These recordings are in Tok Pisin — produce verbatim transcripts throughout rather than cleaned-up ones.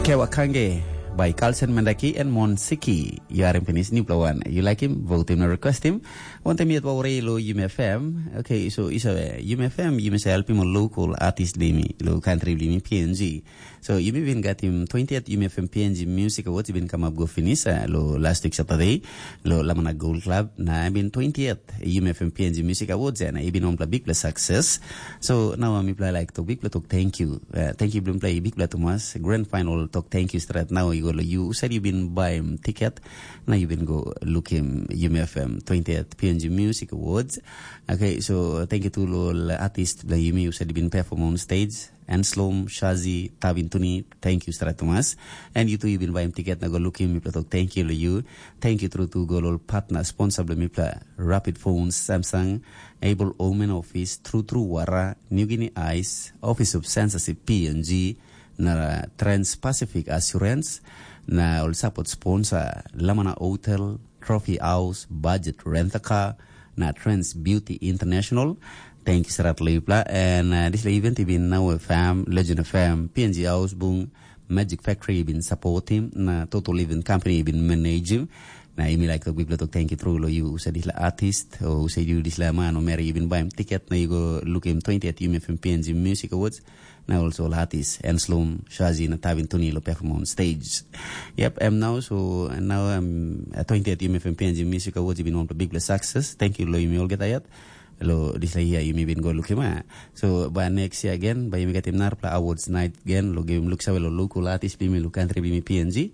Kewa Kange by Carlsen Mendaki and Mon Siki. Yu harim pinis nupela wan. Yu laikim, votim na requestim. Wantem yet wawarei lo Yumi F M. Okay, so isa Yumi F M, Yumi sa helpim ol local artist blimi, lo country blimi P N G. So Yumi bin gatim twentieth Yumi F M P N G Music Awards bin kamap go finis uh, lo last week Saturday. Lo Lamana Gold Club na bin twentieth Yumi F M P N G Music Awards and ibin ompla big success. So now mipela like to big to thank you. Uh, thank you blum play big to mas grand final talk thank you straight now you go you said you been buy ticket. Now you been go look him Yumi F M twentieth P N G Music Awards. Okay, so thank you to all artists the Yumi you said you been perform on stage. Anslom, Shazi, Tabin Tuni, thank you straight to mas. And you too you been buy him ticket na go look him you talk thank you to you. Thank you through to go all partner sponsor blum mipela Rapid Phones, Samsung, Able Omen Office, True True Wara, New Guinea Ice, Office of Censorship P N G, na Trans Pacific Assurance, na ol support sponsor Lamana Hotel, Trophy House, Budget Rent a Car, na Trans Beauty International. Thank you serat lo yupla. And uh, this event ibin now F M, Legend F M, P N G House Bung, Magic Factory ibin support him, na Total Event Company ibin manage him. Na imi like tok bibla tok thank you true lo you usa disla artist o usa you disla man o mary ibin buy him ticket na you go look him twentieth Yumi F M P N G Music Awards. Na also all artist Enslum, Shazi na Tavin Tuni lo perform on stage. Yep, I'm now so and now I'm at twentieth Yumi F M P N G Music Awards ibin on big success. Thank you lo yumi all get ayat. Lo disla year yumi bin go look him ah. So by next year again, by yumi get him narpla awards night again, lo give him look sawe lo local artist bimi lo country bimi P N G.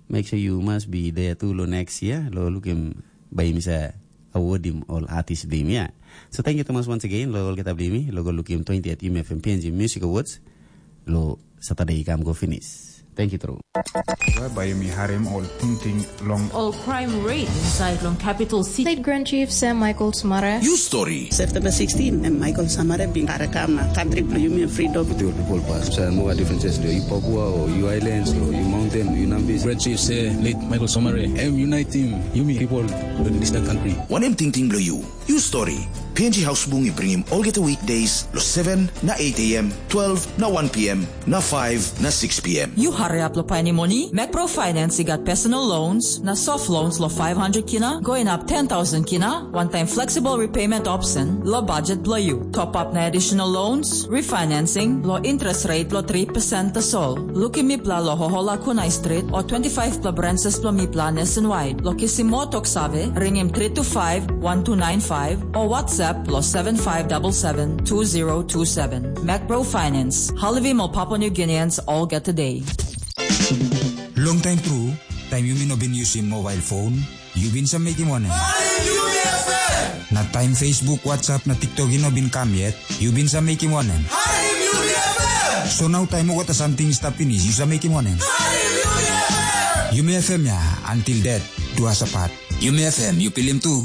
Make sure you must be there too lo next year. Lo look him by him sa award him all artist bimi ya. So thank you Thomas once again lo all get up bimi lo go look him twentieth Yumi F M P N G Music Awards. Lo Saturday i kam go finish. Thank you tru. Bai yumi harim ol tingting long ol crime rate inside long capital city. State Grand Chief Sam Michael Smara. You story. September sixteen, em Michael Samara bin karakam na country bilong yumi freedom. With your people pass. So no differences do you Papua or you islands or you mountain, you Nambis. Grand Chief say late Michael Somare, em uniting yumi people in this country. One em tingting bilong you. You story. P N G House Bung i bringim olgeta weekdays lo seven na eight a.m., twelve na one p.m., na five na six p.m. You hurry up lo paini moni, Macro Finance i gat personal loans na soft loans lo five hundred kina, going up ten thousand kina, one time flexible repayment option lo budget blo you. Top up na additional loans, refinancing lo interest rate lo three percent tasol. Lukim mipla lo Hohola Kunai Street o twenty-five pla branches blo mipla nationwide. Lo kisim mo tok save, ringim three two five one two nine five o WhatsApp lo seven five double seven two zero two seven. Macro Finance, halivim ol Papua New Guineans olgeta day. Long time tru, taim yumi no bin yusim mobile phone, yu bin sa mekim wanem? Na taim Facebook, WhatsApp na TikTok i no bin kam yet, yu bin sa mekim wanem? So nau taim olgeta samting i stap pinis, yu sa mekim wanem? Yumi F M ya, until death do us apart. Yumi F M, yu pilim tu.